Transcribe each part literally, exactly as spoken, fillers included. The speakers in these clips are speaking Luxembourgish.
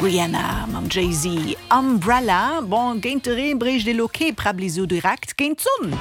Rihanna mam Jay-Z, Umbrella. Bon, géint de Reen bréicht ee lo kee Präbbli sou direkt, géint d'Sonn.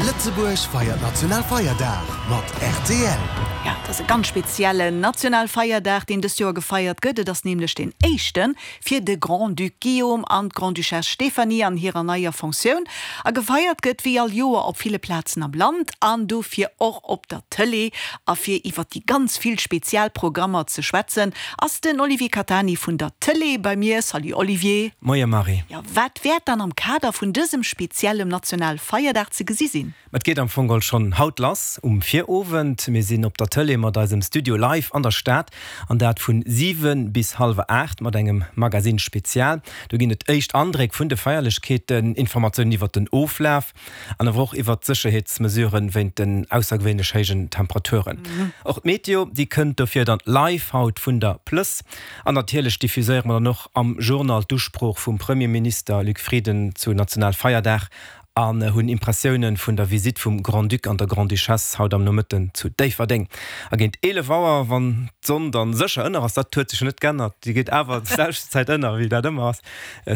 Lëtzebuerg feiert Nationalfeierdag mat rtl. Ja, et ass e ganz speziellen Nationalfeierdag, deen dëst Joer gefeiert gëtt. Et ass nämlech deen éischte fir de Grand-Duc Guillaume an d'Grande-Duchesse Stéphanie an hirer neier Fonctioun. A gefeiert gëtt wéi all Joer op ville Plazen am Land an dofir och op der Tëlee. A fir iwwer déi ganz vill spezial Programmer ze schwätzen, ass den Olivier Catani vun der Tëlee bei mir. Salut Olivier. Moie Marie. Jo, wat wäert dann am Kader vun dësem speziellem Nationalfeierdag ze gesi sinn? Et geet am Fong geholl schonn haut lass, um Virowend. Mir sinn op der Tëlee mat eisem Studio live an der Stad, an dat vun siwen bis hallwer aacht mat engem Magazine Spezial. Do ginn et éischt Andréck vun de Feierlechkeeten, Informatiounen iwwert den Oflaf an awer och iwwert d'Sécherheetsmesuren wéint den aussergewéinlech héijen Temperaturen. Och d'Meteo, déi kënnt dofir dann live haut vun der Plëss. An natierlech diffuséiere mer dann och am Journal d'Usprooch vum Premierminister Luc Frieden zu Nationalfeierdag an hunn Impressioune vun der Visitt vum Grand-Duc an der Grande-Duchesse haut am Nomëtten zu Déifferdeng. A géint eelef Auer, wann d'Sonn dann sécher ënner ass, dat huet sech jo net geännert, déi geet awer d'selwecht Zäit ënner wéi dat ëmmer ass,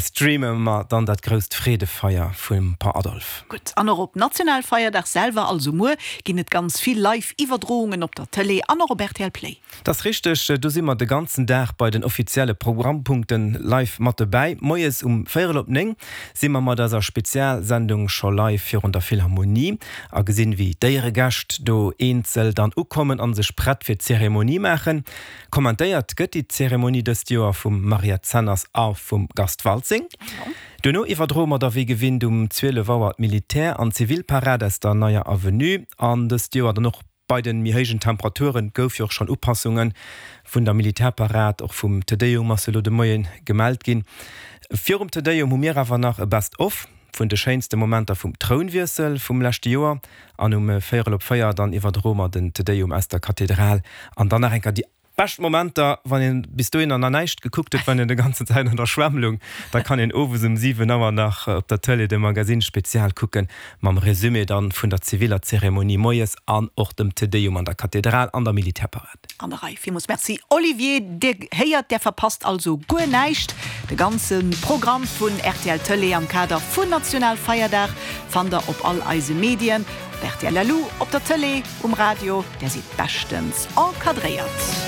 streame mer dann dat grousst Freedefeier vum Par Adolphe. Gutt, an och op Nationalfeierdag selwer, also muer, ginn et ganz vill Live-Iwwerdroungen op der Tëlee an och op rtl Play. Dat ass richteg, do si mer de ganzen Dag bei den offizielle Programmpunkten live mat dobäi. Moies um véierel op néng si mer mat eiser Spezialsendung scho live virun der Philharmonie a gesinn, wéi d'Éieregäscht do eenzel dann ukommen a sech prett fir d'Zeremonie maachen. Kommentéiert gëtt déi Zeremonie dëst Joer vum Mariette Zenners a vum Gast Waltzing. Duerno iwwerdroe mer da wéi gewinnt um zwielef Auer d'Militär an Zivilparad aus der Neier Avenue an dëst Joer dann och bei den méi héijen Temperaturen gouf jo och schonn Upassunge vun der Militärparad, och vum Te Deum ass jo elo de Moien gemellt ginn. Virum Te Deum hu mir awer nach e Best of vun de schéinste Momenter vum Trounwiessel vum leschte Joer an um véierel op véier dann iwwerdroe mer den Te Deum aus der Kathedral an dann nach eng Kéier déi Bescht Momenter, wann een bis dohinner nach näischt gekuckt huet, wann een de ganzen Zäit an der Schwämm lung, da kann een owes um siwen Auer nach op der Tëlee de Magazine Spezial kucken, mam Resumé dann vun der ziviller Zeremonie moies an och dem Te Deum an der Kathedral an der Militärparad. An der Rei. Villmools Merci Olivier. Dir héiert, där verpasst also guer näischt. De ganze Programm vun rtl Tëlee am Kader vun Nationalfeierdag fannt der op all eise Medien, op rtl Lu, op der Tëlee, um Radio, där sidd beschtens encadréiert.